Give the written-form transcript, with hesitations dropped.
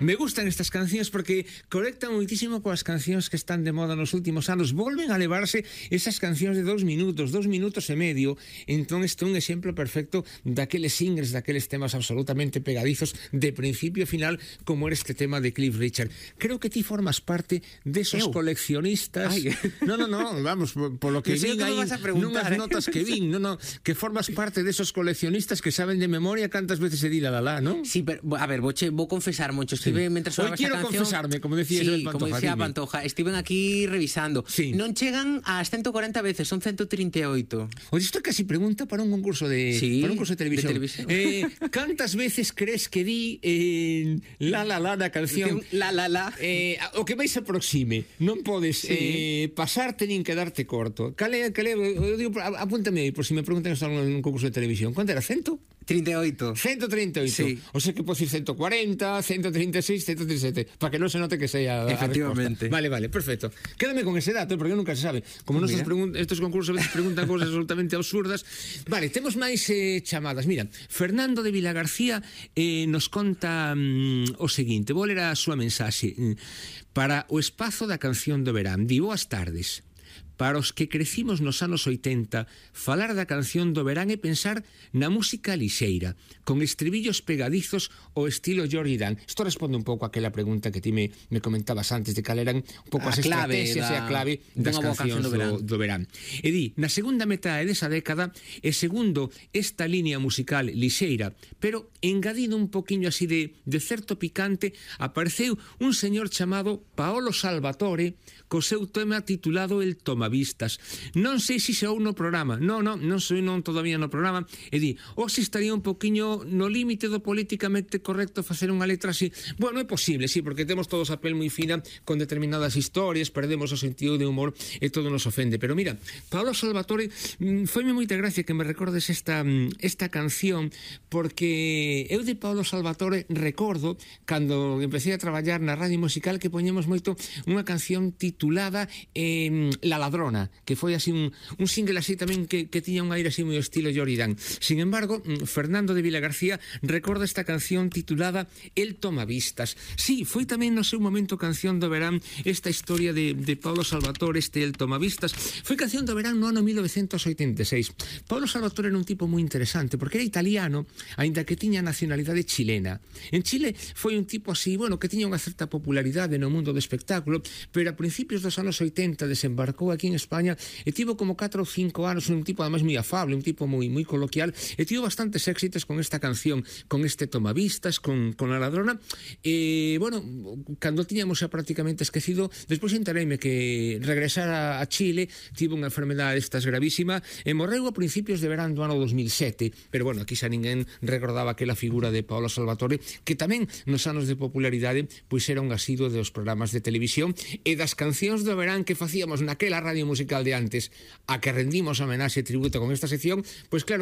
Me gustan estas cancións porque conectan moitísimo coas cancións que están de moda nos últimos anos. Volven a levarse esas cancións de 2 minutos e medio. Entón este é un exemplo perfecto daqueles singles, daqueles temas absolutamente pegadizos de principio a final, como era este tema de Cliff Richard. Creo que ti formas parte desos coleccionistas. No, vamos, polo que vin aí nunhas notas que vin, que formas parte desos coleccionistas que saben de memoria cantas veces se di la, non? Sí, pero a ver, vou confesar, Moncho, estive mentre sonaba esta canción. Confesarme, como decía Pantoja. Como decía Pantoja, estiven aquí revisando. Non chegan ás 140 veces, son 138. Oye, isto casi pregunta para un concurso de televisión. Cantas veces crees que di la na canción? La. O que máis se aproxime. Non podes pasarte nin quedarte corto. Cale, eu digo, apúntame aí, por si me preguntan isto en un concurso de televisión. Quanto era? 138. 138. Sí. O sea que podes ir 140, 136, 137, para que non se note que sea efectivamente. Vale, perfecto. Quédame con ese dato, porque nunca se sabe. Como estos concursos a veces preguntan cosas absolutamente absurdas. Vale, temos máis chamadas. Mira, Fernando de Vilagarcía nos conta o seguinte. Vou ler a súa mensaxe. Para o espazo da canción do verán. Di, boas tardes. Para os que crecimos nos anos 80, falar da canción do verán é pensar na música lixeira, con estribillos pegadizos ao estilo Jordi Dan. Isto responde un pouco àquela pregunta que ti me comentabas antes de cal eran un pouco as estrategias e a clave das cancións do verán. E di, na segunda metade desa década, e segundo esta línea musical lixeira, pero engadindo un poquinho así de certo picante, apareceu un señor chamado Paolo Salvatore co seu tema titulado El Tomavistas. Non sei se xa ou no programa. Non sei todavía no programa. E di, se estaría un poquinho no límite do políticamente correcto facer unha letra así. Bueno, é posible, sí, porque temos todos a pel moi fina con determinadas historias, perdemos o sentido de humor e todo nos ofende. Pero mira, Paolo Salvatore, foime moita gracia que me recordes esta canción, porque eu de Paolo Salvatore recordo cando empecé a traballar na radio musical que poñemos moito unha canción titulada La Ladrona, que foi así un single así tamén que tiña un aire así moi estilo Jordi Dan. Sin embargo, Fernando de Vilagarcía recorda esta canción titulada El Tomavistas. Sí, foi tamén no seu momento canción do verán esta historia de Paolo Salvatore, El Tomavistas. Foi canción do verán no ano 1986. Paolo Salvatore era un tipo moi interesante porque era italiano, aínda que tiña nacionalidade chilena. En Chile foi un tipo así, bueno, que tiña unha certa popularidade no mundo do espectáculo, pero a principios dos anos 80 desembarcou aquí en España e tivo como 4 ou 5 anos, un tipo además moi afable, un tipo moi coloquial, e tivo bastantes éxitos con esta canción, con este Tomavistas, con La Ladrona. E, bueno, cando tiñamos xa prácticamente esquecido, despois entereime que regresar a Chile, tivo unha enfermedade estas gravísima e morreu a principios de verán do ano 2007, pero bueno, aquí xa ninguén recordaba aquela figura de Paolo Salvatore, que tamén nos anos de popularidade pois era un asiduo dos programas de televisión e das cancións do verán que facíamos naquela radio musical de antes, a que rendimos homenaxe e tributo con esta sección, pois claro,